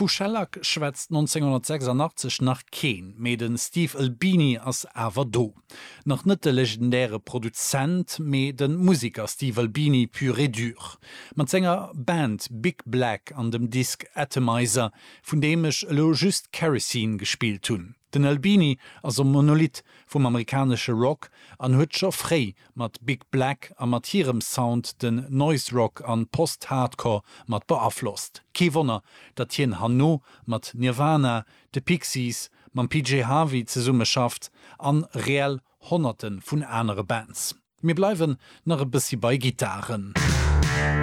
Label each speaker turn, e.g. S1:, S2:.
S1: Vu Shellac schwätzt 1986 nach keen, mee de Steve Albini ass awer do. Nach net de legendäre Produzent, mee de Museker Steve Albini pur et dur. Mat senger Band Big Black an dem Disk Atomizer, vun deem ech elo just Kerosene gespillt hunn. Den Albini ass e Monolith vum amerikanesche Rock an huet scho fréi mat Big Black a mat hirem Sound den Noise Rock an Post-Hardcore mat beaflosst. Kee Wonner, datt hien herno mat Nirvana, de Pixies, mam PJ Harvey zesumme schafft an reell Honnerte vun anere Bands. Mir bleiwen nach e bëssi bei Gittaren.